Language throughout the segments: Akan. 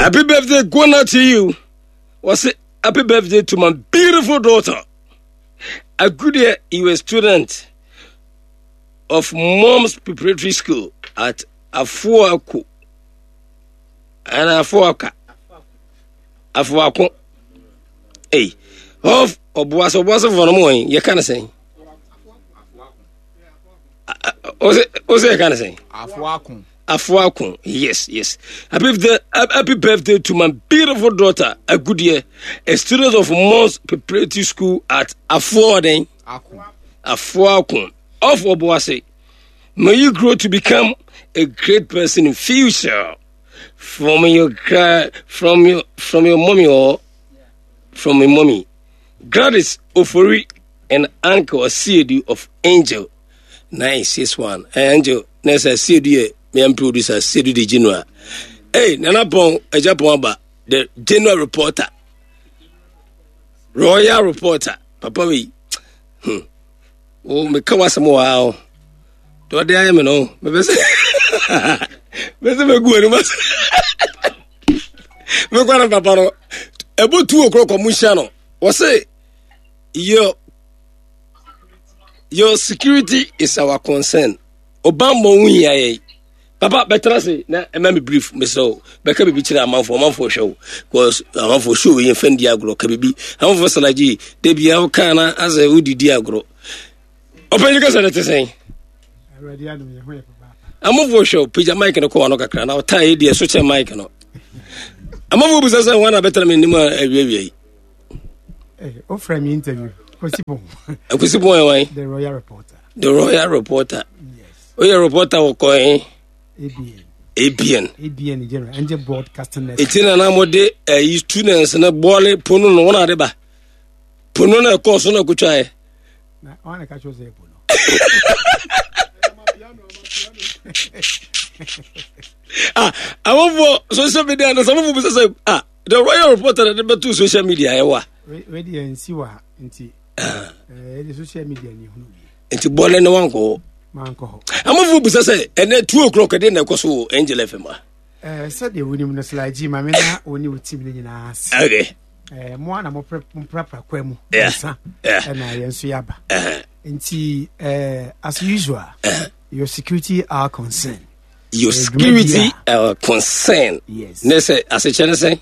Happy birthday going out to you. What's it? Happy birthday to my beautiful daughter. Agudia, you a student of Mom's Preparatory School at Afuaku. And Afuaka. Afuako. Hey. Of Obuasa Obuasa for no more. You can't say. What's it kind of saying? Afuako. Afuako. Yes, yes. Happy birthday, happy birthday to my beautiful daughter, Agudia, a student of Mons Preparatory School at Afuaden. Afuako. Of Obuasi. May you grow to become a great person in future. From your from your from your mommy or from your mommy. Gladys Ofori and uncle Asiedu of Angel 961. Eh, Angel, nessa Asiedu ye me am producer Asiedu the general. Hey, Nana Pon, Ejapon Aba, the general reporter. Royal reporter. Papa we. Oh, me ka wasɛm wɔ ha o. Deɛ ɔde ayɛ me no, mepɛ sɛ mepɛ sɛ mɛgu anim ase. Mekɔ no papa no, ɛbɔ tu okorɔ kɔ mo nhyia no. Wɔse your your security is our concern. Ɔbammɔ ho hia yɛn. Papa bɛtena ase na ɛma me brief mesrɛ wo bɛka biribi kyerɛ amanfoɔ amanfoɔ hwɛ wo because amanfoɔ show yɛn fɛn di agorɔ ka biribi amanfoɔ salagye da bia woka na asɛ wodidi agorɔ ɔpɛnyi kasa no te sɛn amanfoɔ hwɛ wo pagya mic no kɔ wano kakra na ɔtaa yɛ deɛ so kyɛ mic no amanfoɔ bisa sɛ wana bɛtena me anim a awiawia yi wofrɛ me interview Kwasi Pon Kwasi Pon yɛ wan the royal reporter the royal reporter yes woyɛ reporter wɔ kɔn ABN ABN ABN general Angel Broadcasting Network eti na na mo de ɛyi students ne bɔɔle pono no wɔn ade ba pono na ɛkɔɔ so na ɛkotwa yɛ na wɔn na ka kyerɛ sɛ pono ah awofo social media na sɛ awofo bisa sɛ ah the royal reporter na de bɛto social media ɛwa. wei deɛ nsi wɔ ha nti ɛde social media ni hunu bi. Nti bɔlɛ ne wankɔ hɔ. Mankɔ hɔ. Amanfoɔ bisa sɛ ɛnɛ 2 o'clock ɛdeɛ na ɛkɔ so wɔ Angel FM a. Ɛɛ sɛdeɛ wonim no Sly maame na wo ne wo team no nyinaa ase. Okay. Ɛɛ mo a na moprapra kwa mu. Nsa ɛna yɛn nso yɛaba. Nti ɛɛ as usual your security are concern. Your security are concern. Yes. Ne sɛ asekyɛ ne sɛ.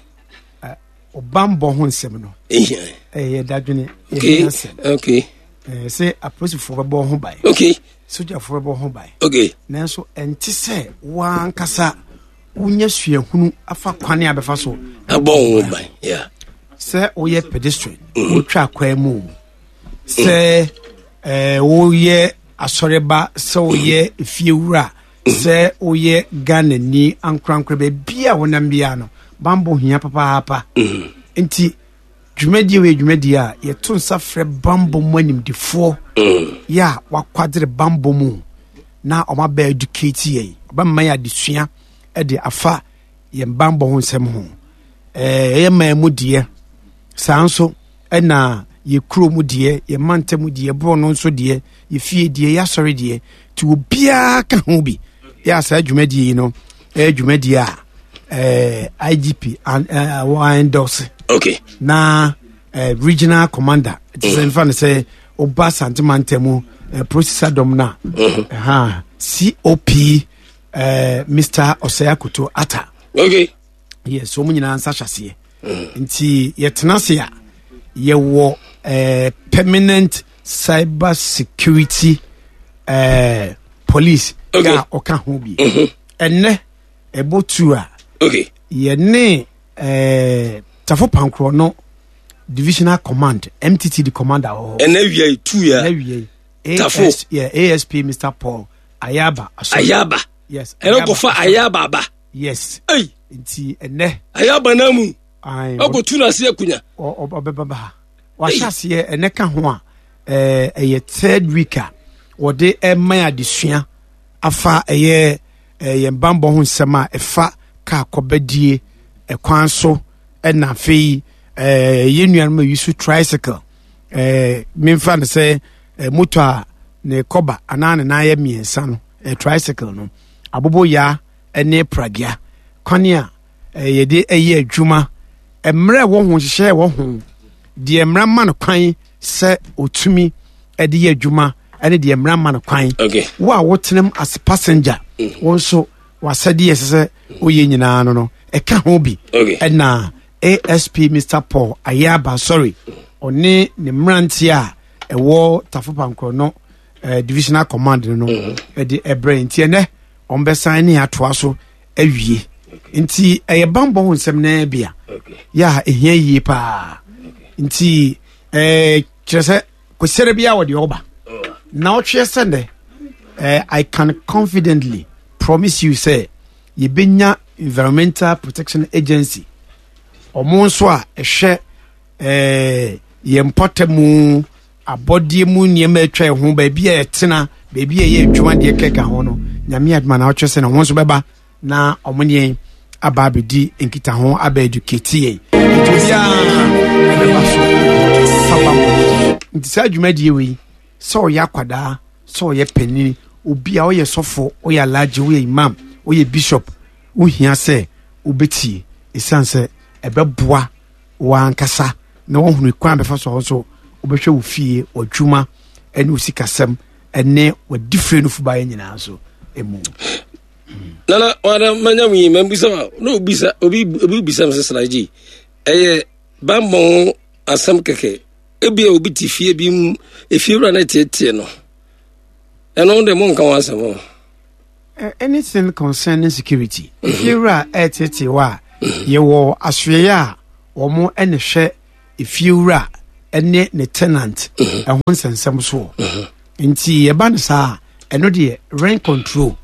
Ɔbanbɔ ho nsɛm no. Ɛyɛ dadwene. Okay. Okay. Sɛ apolisifoɔ bɛbɔ ho ban. Okay. Sogyafoɔ bɛbɔ ho ban. Okay. Nanso ɛnte sɛ wankasa wonya suahunu afa kwan a bɛfa so. Abɔ ho ban. Yeah. Sɛ woyɛ pedestrian, wotwa kwan mu. Sɛ ɛɛ woyɛ asɔreba, sɛ woyɛ efiewura, sɛ woyɛ Ghanani ankorankora baabi a wonam biara no, bambɔ hia papaapa. Nti dwumadie wei dwumadie a yɛto nsa frɛ bambɔ mu animdefoɔ yɛ a wakwadere bambɔ mu na ɔma bɛ educate yɛn, ɔbɛma yɛn adesua de afa yɛn bambɔ ho nsɛm ho. Ɛyɛ man mu deɛ, saa nso ɛna yɛ kuro mu deɛ, yɛ mantam mu deɛ, borɔ no nso deɛ, yɛ fie deɛ, yɛ asɔre deɛ, nti obiara ka ho bi. Yɛ a saa dwumadie yi no ɛyɛ dwumadie a IGP wɔ endorse. Okay. Na regional commander te sɛ nfa no sɛ ɔba Asante mantam mu processor dɔm no a COP Mr. Osei Akoto Atta. Okay. Yes, wɔn nyinaa nsa hyɛ aseɛ. Nti yɛtena ase a yɛwɔ permanent cyber security police okay. a ɔka ho bi. Ɛnɛ ɛbɔ tu a okay. yɛne Tafo Pankorɔ no divisional command MTTD commander wɔ hɔ. Ɛnɛ wia yi tu ya. Ɛnɛ wia yi. Tafo. Yeah, ASP Mr. Paul Ayaba. Ayaba. Yes. Ɛnɛ kɔfa Ayaba aba. Yes. Ei. Nti ɛnɛ. Ayaba na mu. Ɔkɔ tu na ase akunya. Ɔbɛba ba ha. Wahyɛ aseɛ ɛnɛ ka ho a ɛyɛ third week a wɔde ɛma adesua afa ɛyɛ yɛn bambɔ ho nsɛm a ɛfa kaa kɔbɛdie ɛkwan so ɛna afei yɛn nuanom a yi so tricycle memfa no sɛ moto a ne kɔba anaa ne nan yɛ mmiɛnsa no tricycle no aboboyaa ne pragea kwane a yɛde ɛyɛ adwuma, mmerɛ ɛwɔ ho, nhyehyɛ ɛwɔ ho, deɛ mmara ma no kwan sɛ ɔtumi de yɛ adwuma ɛne deɛ mmara ma no kwan. Wo a wotenam as passenger, wo nso wasɛdeɛ ɛsɛ sɛ woyɛ nyinaa no ɛka ho bi. Ɛna ASP Mr Paul Ayaba, sorry, ɔne ne mmeranteɛ a ɛwɔ Tafo Pankorɔ no divisional command no ɛde ɛbrɛ. Nti ɛnɛ ɔmbɛsan ne atoa so awie. Nti ɛyɛ bambɔ ho nsɛm naa bi a yɛ a ɛhia yie paa. Nti kyerɛ sɛ kwasiara bi a wɔde ɔba na ɔtweɛ sɛ nnɛ, I can confidently promise you sɛ yɛbɛnya Environmental Protection Agency, ɔmo nso a ɛhwɛ yɛn mpɔtamu abɔdeɛ mu nneɛma atwa ɛho, baabi a yɛtena, baabi a yɛyɛ adwuma, deɛ kɛka ho no. Nyame adoma na ɔtwerɛ sɛ na ɔmo nso bɛba na ɔmo ne yɛn aba abɛdi nkitaho, aba educate yɛn. Nti obiara ɛbɛba so fa bammɔ. Nti saa dwumadie wei, sɛ ɔyɛ akwadaa, sɛ ɔyɛ panyin, obi a ɔyɛ sɔfo, ɔyɛ alagye, ɔyɛ imam, ɔyɛ bishop, wohia sɛ wobɛtie, ɛsiane sɛ ɛbɛboa w'ankasa na woahunu kwan bɛfa so a wo nso wobɛhwɛ wo fie, w'adwuma ne wo sikasɛm ne w'adifire no fubaeɛ nyinaa nso mu. Nana wada manya wi mambisa wa na obisa obi obi bisa me sɛ sraji ɛyɛ bammɔ ho asɛm kɛkɛ, ebia obi te fie bi mu, efie wura no teetee no, ɛno de monka ho asɛm o. Anything concerning security, efie wura ɛreteetee wɔ a, yɛwɔ asoɛeɛ a wɔn ɛna hwɛ efie wura ɛne ne tenant ɛho nsɛnsɛm soɔ. Nti yɛba no saa, ɛno deɛ Rent Control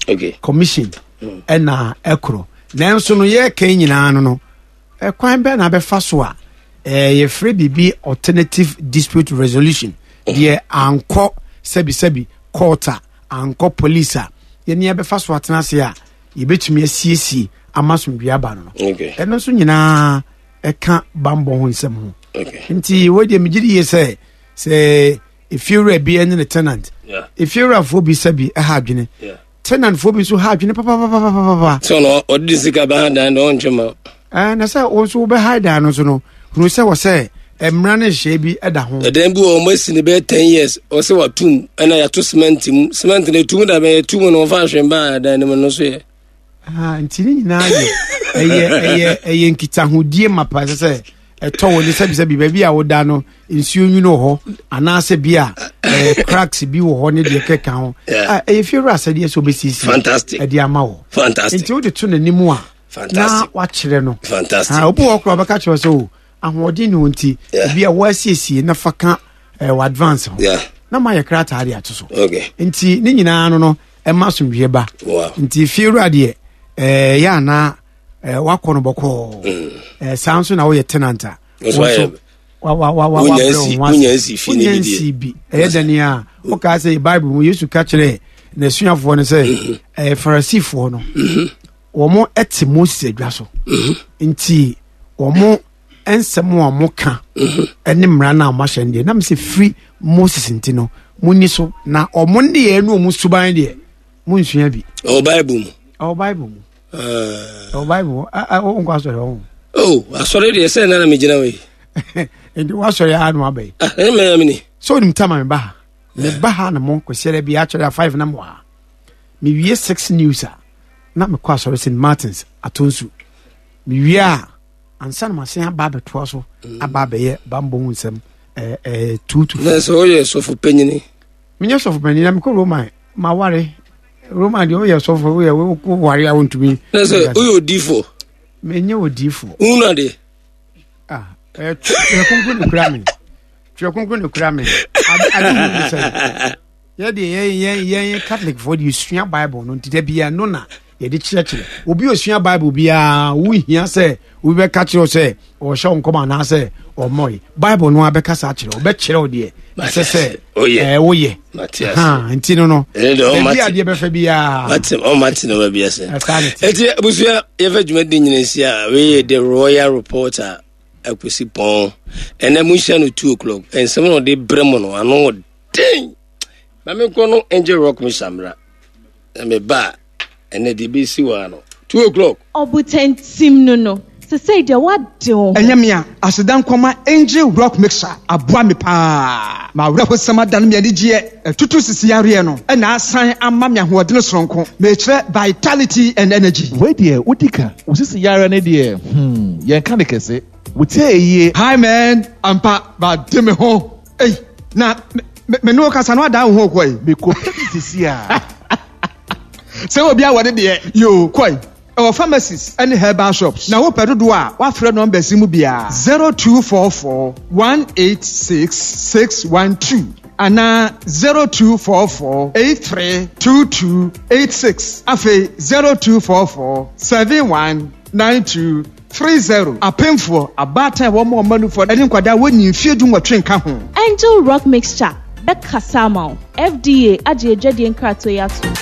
Commission ɛna ɛkorɔ. Nanso no yɛreka nyinaa no, ɛkwan bɛn na abɛfa so a yɛfrɛ biribi alternative dispute resolution, deɛ ankɔ sɛbisɛbi court a, ankɔ police a, yɛne yɛbɛfa so atena ase a yɛbɛtumi asiesie ama asomdwe aba no. Ɛno nso nyinaa ɛka bambɔ ho nsɛm ho. Nti wei deɛ megye di yie sɛ efiewura bi ne ne tenant, efiewurafoɔ bi sɛbi ɛha adwene, tenantfoɔ bi nso ha adwene papapapapapa. Sɛ ɔno ɔde ne sika bɛha dan na ɔntwe ma. Ɛɛ na sɛ wɔn nso wobɛha dan no nso no, hunu sɛ wɔ sɛ mmara ne nhyehyɛe bi da ho. Ɛdan bi wɔ wɔn asi ne bɛyɛ 10 years, ɔsɛ watum ɛna yɛato cement mu, cement no etum da bɛyɛ tum no wɔfa ahwɛn ba dan no mu no so yɛ. Ah, nti ne nyinaa yɛ ɛyɛ ɛyɛ ɛyɛ nkitahodie mapa. Ɛsɛ sɛ ɛtɔ wɔ ne sɛbisɛbi baabi a woda no, nsuo nwunu wɔ hɔ anaasɛ bi a cracks bi wɔ hɔ ne deɛ kɛka ho. Ɛyɛ fie wura asɛdeɛ sɛ wobɛsiesie ɛde ama wɔ. Nti wode to n'anim a na wakyerɛ no. Obi wɔ koraa ɔbɛka kyerɛ sɛ o ahoɔden ne wo nti ebi a wɔasiesie na fa ka wɔ advance ho na mayɛ krataa de ato so. Nti ne nyinaa no ɛma asomdwoeɛ ba. Nti fie wura deɛ yɛ anaa wakɔ no bɔkɔɔ. Saa nso na woyɛ tenant a, wo nso wonya nsi bi ɛyɛ dɛne a wokaa sɛ Bible mu Yesu ka kyerɛɛ n'asuafoɔ no sɛ Farisifoɔ no wɔn te Moses adwa so, nti wɔn nsɛm a wɔn ka ne mmara no a wɔn ahyɛ no deɛ nam sɛ firi Moses, nti no monni so, na wɔn nneyɛɛ ne wɔn suban deɛ monsua bi. Ɛwɔ Bible mu. Ɛwɔ Bible mu. Ɛwɔ Bible mu. Wonkɔ asɔre hɔ? Oh, asɔre deɛ sɛ nana megyina wei. Nti woasɔre a no aba yi? Ɛne mɛyɛ mene. Sɛ wonim tama meba ha, meba ha na mo kwasiara bi akyɛre a 5 na mewɔ ha. Mewie 6 news a na mekɔ asɔre St Martins Atonsu. Mewie a ansa na masen aba abɛtoa so aba abɛyɛ bambɔ ho nsɛm 2 to 4. Na sɛ woyɛ sɔfo panyini? Menyɛ sɔfo panyin na mekɔ Roman maware. Roman deɛ woyɛ sɔfo, woyɛ woware a wontumi. Na sɛ woyɛ odiifoɔ? Menyɛ odiifoɔ. Wohunu adeɛ? Ah, twerɛ kronkron ne kura me, twerɛ kronkron ne kura me. Ade hu ne sɛ yɛde yɛn yɛn yɛn Catholic foɔ de yɛsua Bible no, nti da bia no na yɛde kyerɛkyerɛ. Obi osua Bible biara, wohia sɛ obi bɛka kyerɛ wo sɛ ɔhyɛ wo nkɔm anaasɛ ɔmmɔe Bible no abɛkasa akyerɛ wo, ɔbɛkyerɛ wo deɛ ɛsɛ sɛ woyɛ. Nti no baabi adeɛ bɛfɛ biara ɔmate no baabi ase. Ɛnti abusua, yɛfɛ dwumadi nyina nsi a wei yɛ The Royal Reporter Akwasi Pɔn. Ɛnɛ monhyia no 2 o'clock. Ɛnsɛm na ɔde brɛ mu no ano den. Ma menkɔ no Angel Rock me samra na meba a ɛnɛ deɛ ɛbɛsi wɔ ano. 2 o'clock. Ɔbotantim no no, sesei deɛ woade wo ho. Ɛnyɛ me a, aseda nkɔma Angel Rock Mixer aboa me paa. M'awerɛhosɛm adane me anigyeɛ, atutu sisi yareɛ no na asan ama me ahoɔdene soronko. Mekyerɛ vitality and energy. Wei deɛ wodi ka. Wo sisi yareɛ no deɛ hmm yɛnka no kɛse. Wo tie yie. Hi man, ampa made me ho ei na me ne wo kasa no adan wo ho kɔ ei. Mekɔ pɛ bi sisi a. Sɛ obi awɔ ne deɛ yoo kɔ ei. Ɛwɔ pharmacies ne herbal shops na wopɛ dodoɔ a wafrɛ numbers yi mu biara 0244 186 612 anaa 0244 8322 86 afei 0244 71 92 30. Apemfoɔ, abaatan a wɔma wɔn mma nufoɔ ne nkwadaa a wɔnnii mfeɛ dunwɔtwe nka ho. Angel Rock Mixture bɛkasa ama wo. FDA agye adwadie nkratoɔ yi atom.